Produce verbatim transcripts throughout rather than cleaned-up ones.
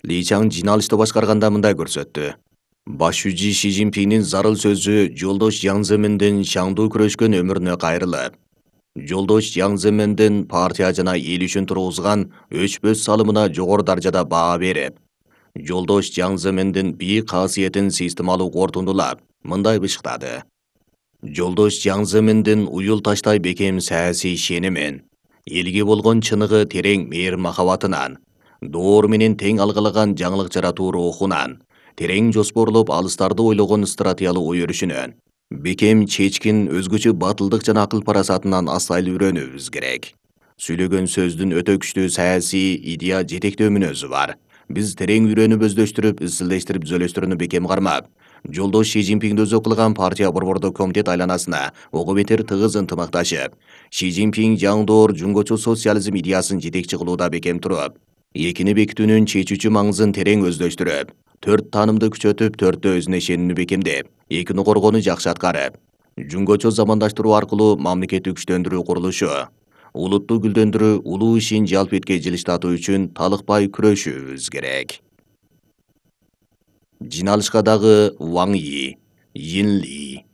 Ли Чаң жиналышты башкарганда мындай көрсөттү. Баш жүзү Ши Цзиньпиндин зарыл сөзү жолдош Жаң Земендин шаңдуу күрөшкөн өмүрүнө кайрылып, жолдош Жаң Земендин партия жана эл үчүн тургузган өчпөс салымына жогору даражада баа берип, жолдош Жаң Земендин бийик касиетин системалуу корутундулап, мындай бышыктады. Жолдош Жаң Земендин уюл таштай бекем саясий ишенимин, элге болгон чыныгы терең мээр махабатынан, доор менен тең алгылаган жаңылык жаратуу рухунан, терең жоспорлоп алыстарды ойлогон стратегиялык ой өрүшүнөн, бекем чечкин өзгөчө батылдык жана акыл парасатынан асайыл үйрөнүүбүз керек. Сүйлөгөн сөздүн өтө күчтүү саясий идея жетектөө мүнөзү бар. Биз терең үйрөнүп өздөштүрүп, изилдештирип түзөлөштөрүнү бекем кармап, жолдош Ши Цзиньпинди өзү кылган партия борбордук комитет айланасына ого бетер тыгыз ынтымакташып, Ши Цзиньпин жаңдоор жуңгочу социализм идеясын жетекчи кылууда бекем туруп, экини бекитүүнүн чечүүчү маңызын терең өздөштүрүп, төрт таанымды күчөтүп, төрттө өзүнө ишенимди бекемдеп, экини коргоону жакшы аткарып, жуңгочу замандаштыруу аркылуу мамлекетти күчтөндүрүү курулушу, улутту гүлдөндүрүү, улуу ишин жалпы этке жылыштатуу үчүн талыкпай күрөшүүбүз керек. Жиналышка дагы Ваң Йи, Йин Ли,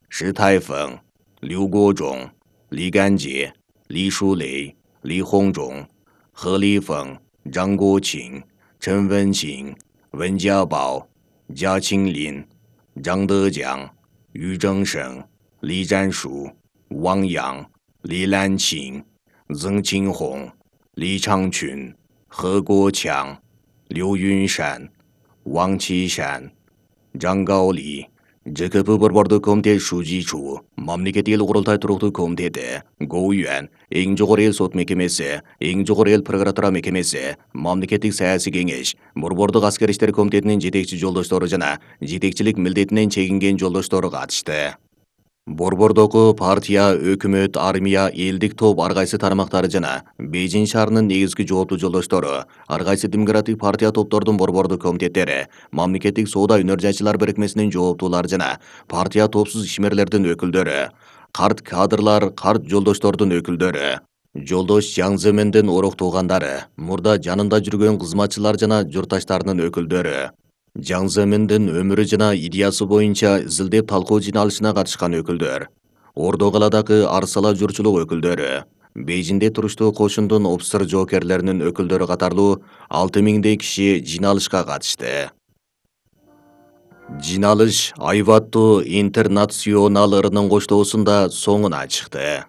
Ши Тайфeng, Лю Гожоң, Ли Ганжи, Ли Шулей, Ли Хongzhong, He Lifeng, Zhang Guoqing, Chen Wenxing, Wen Jiabao, Jia Qinglin, Zhang Dejiang, Yu Zhengsheng, Li Zhanshu, Wang Yang, Li Lanqing, Zeng Qinghong, Li Changqun, He Guoqiang, Liu Yunshan, Wang Qishan, Zhang Gaoli, Ж К П борбордук комитет Шужичу, мамлекеттик эл курултай туруктуу комитети, Гоуюан, эң жогору эл сот мекемеси, эң жогору эл прокуратура мекемеси, мамлекеттик саясий кеңеш, борбордук аскер иштер комитетинин жетекчи жолдоштору жана жетекчилик милдетинен чегинген жолдоштору катышты. Борбордогу партия, өкмөт, армия, элдик топ ар кайсы тармактары жана Бейжиң шаарынын негизги жооптуу жолдоштору, ар кайсы демократик партия топтордун борбордук комитеттери, мамлекеттик соода өнөр жайчылар берекмесинин жооптуулары жана партия топсуз ишмерлердин өкүлдөрү, карт кадрлар, карт жолдоштордун өкүлдөрү, жолдош Жаң Земендин ороқ туугандары, мурда жанында жүргөн кызматчылар жана журтташтарынын өкүлдөрү, Жаң Земендин өмүрү жана идеясы боюнча изилдеп талкуу жиналышына катышкан өкүлдөр, Ордо каладагы арсала журчулук өкүлдөрү, Бейжиңде туруштуу кошундун опсыр жоокерлеринин өкүлдөрү катарлуу алты миңдей киши жиналышка катышты. Жиналыш Айваттуу интернационал ырынын коштоосунда соңуна чыкты.